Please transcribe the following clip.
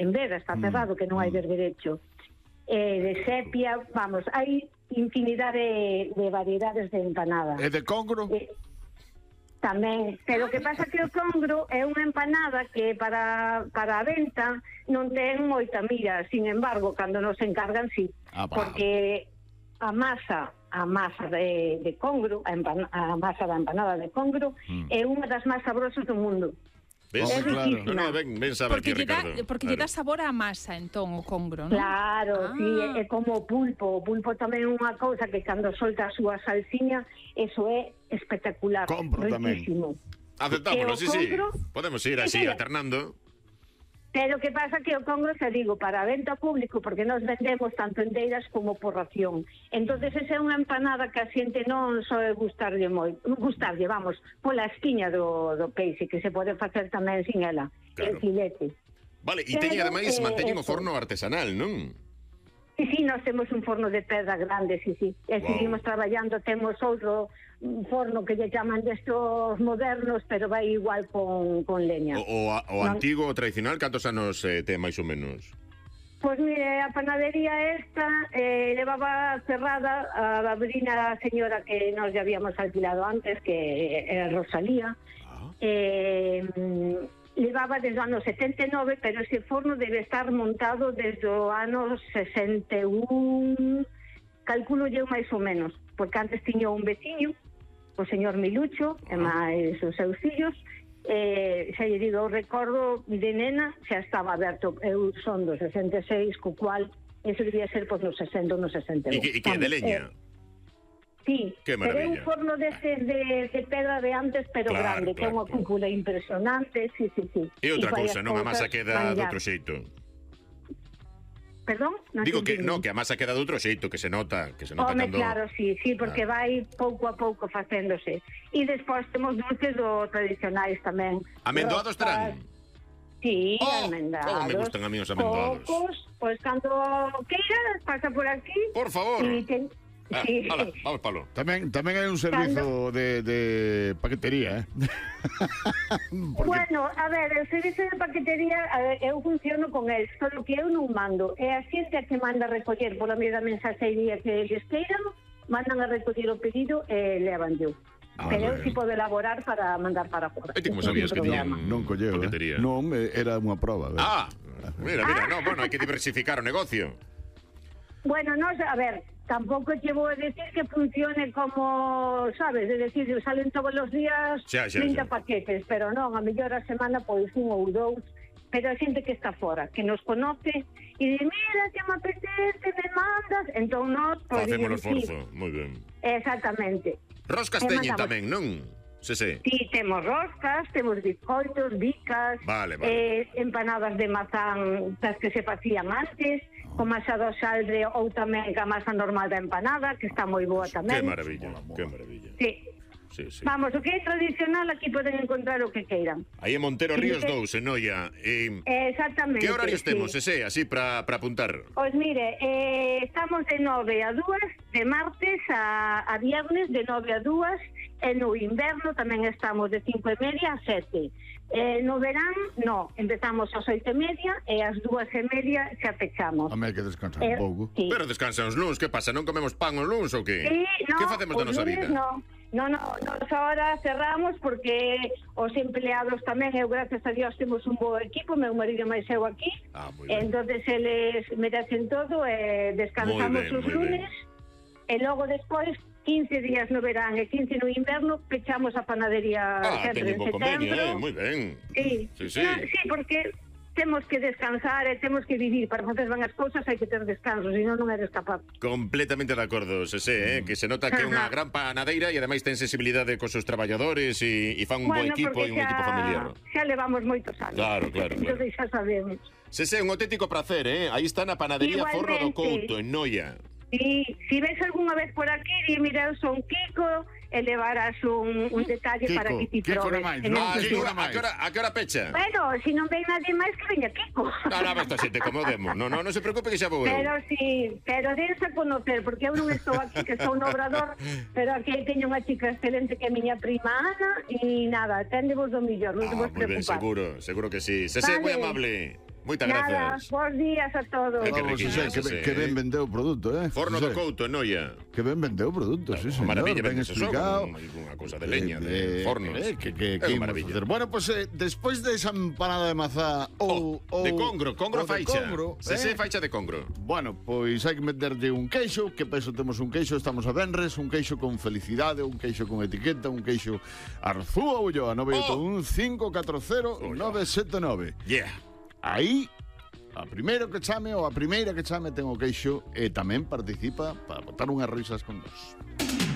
en Vega, está cerrado, que non hai berberecho. De sepia, vamos, hai infinidade de variedades de empanada. E de congro? Tamén, pero o que pasa que o congro é unha empanada que para a venta non ten moita mira, sin embargo, cando nos encargan, sí, porque a masa de congro, a masa da empanada de congro é unha das máis sabrosas do mundo. ¿Ves? É riquísima. No, ven saber aquí, Ricardo. Porque lle dá sabor á masa, entón, o congro, non? Claro, sí, é como o pulpo. O pulpo tamén é unha cousa que cando solta a súa salsiña, eso é espectacular. Compro riquísimo. Aceptámoslo, sí. Podemos ir así, alternando. Pero que pasa que o congro, te digo, para a venta público, porque nos vendemos tanto enteiras como por ración. Entonces esa é unha empanada que a xente non soe gustarlle, vamos, pola espiña do peixe, que se pode facer tamén sin ela, el filete. Vale, e teñen ademais, manteñen o forno artesanal, non? Sí, nós temos un forno de pedra grande, sí. E seguimos traballando, temos outro forno que lle chaman destos modernos, pero vai igual con leña. O antigo, o tradicional, cantos anos ten máis ou menos? Pois mire, a panadería esta levaba cerrada a abrina a señora que nos ya habíamos alquilado antes, que era Rosalía. Levaba desde o ano 79, pero ese forno debe estar montado desde o ano 61, calculo eu máis ou menos, porque antes tiña un veciño, o señor Milucho, e máis os seus fillos, xa lle digo, o recordo de nena xa estaba aberto. Eu son do 66, co cual eso debía ser pois no 60 ou no 61. E que é de leña? Sí, pero é un forno de pedra de antes, pero grande, con unha cúpula impresionante, sí. E outra cousa, non a masa queda de outro xeito. Perdón? Digo que non, que a masa queda de outro xeito, que se nota cando... Claro, sí, porque vai pouco a pouco facéndose. E despois temos dulces do tradicionais tamén. Amendoados terán? Sí, amendados. Como me gustan a mí os amendoados. Cocos, pois cando queiras, pasa por aquí. Por favor. Sí. Vamos, Pablo. Tamén hai un servizo de paquetería, Bueno, a ver, o servizo de paquetería, eu funciono con el, só que eu non mando. É a xente a que manda a recoller pola media mensaxería que eles queiran, mandan a recoller o pedido e levan yo. Pero eu si podo elaborar para mandar para fora. E ti como sabías que tiñan paquetería? Non, era unha proba. Mira, hai que diversificar o negocio. Bueno, a ver, tampouco che vou a decir que funcione como, sabes, é decir, salen todos os días 30 paquetes, pero non, a mellor a semana pois un ou dous, pero a xente que está fora, que nos conoce e di, mira, que me apetece, me mandas, entón nós facemos o esforzo, moi ben. Exactamente. Roscas teñen tamén, non? Sí. Sí, temos roscas, temos bizcoitos, bicas, empanadas de mazán das que se facían antes, con masa do saldre ou tamén ca masa normal da empanada, que está moi boa tamén. Que maravilla. Sí. Vamos, o que é tradicional aquí poden encontrar o que queiran. Aí en Montero Ríos 2, en Noia. Exactamente. Que horarios temos, así, para apuntar? Pois mire, estamos de 9 a 2, de martes a viernes, de 9 a 2, e no inverno tamén estamos de 5:30 a 7. No verán, empezamos ás 8:30 e ás 2:30 xa pechamos. A mí hai que descansar un pouco. Sí. Pero descansan os luns, que pasa? Non comemos pan os luns ou que? Sí, que facemos da nosa vida? Nos ahora cerramos porque os empleados tamén, eu gracias a Dios temos un bo equipo, meu marido máis eu aquí, entonces eles merecen todo e descansamos os lunes e logo despois 15 días no verán e 15 no inverno pechamos a panadería sempre en setembro. Moi ben. Sí, porque temos que descansar e temos que vivir. Para facer ben as cousas hai que ter descanso, senón non eres capaz. Completamente de acordo, que se nota que é unha gran panadeira e ademais ten sensibilidade cos seus traballadores e fan un bo equipo e un equipo familiar. Xa levamos moitos anos. Claro. Entón xa sabemos. Un auténtico placer, Aí está na panadería Forno do Couto, en Noia. Si ves algunha vez por aquí, mira, eu son Kiko, e levarás un detalle para que ti probes. A que hora pecha? Bueno, se non ven nadie máis que veña Kiko. Non, esta xente, como demo. Non se preocupe que xa vou eu. Pero dense a conocer, porque eu non estou aquí, que estou no Obrador, pero aquí teño unha chica excelente que é miña prima Ana, e nada, téndevos do millor, non te vos preocupar. Moi ben, seguro que sí. Moi amable. Moitas Nada, grazas. bons días a todos. Que Vamos, riquillo, Xosé, que ben vendeu o produto, Forno Xosé, do Couto, en Noia. Que ben vendeu o produto, sí, señor. Maravilla, Ben vende explicado. Unha cousa de leña, de fornos. Que É unha imos maravilla. facer. Bueno, pues despois de esa empanada de mazá ou De congro, ou de faixa. congro, Se faixa de congro. Bueno, pois hai que meterlle un queixo. Que peso temos un queixo? Estamos a venres. Un queixo con felicidade, un queixo con etiqueta, un queixo Arzúa Ulloa, 981 540 979. Yeah. Aí, a primeiro que chame ou a primeira que chame ten o queixo e tamén participa para botar unhas risas con nós.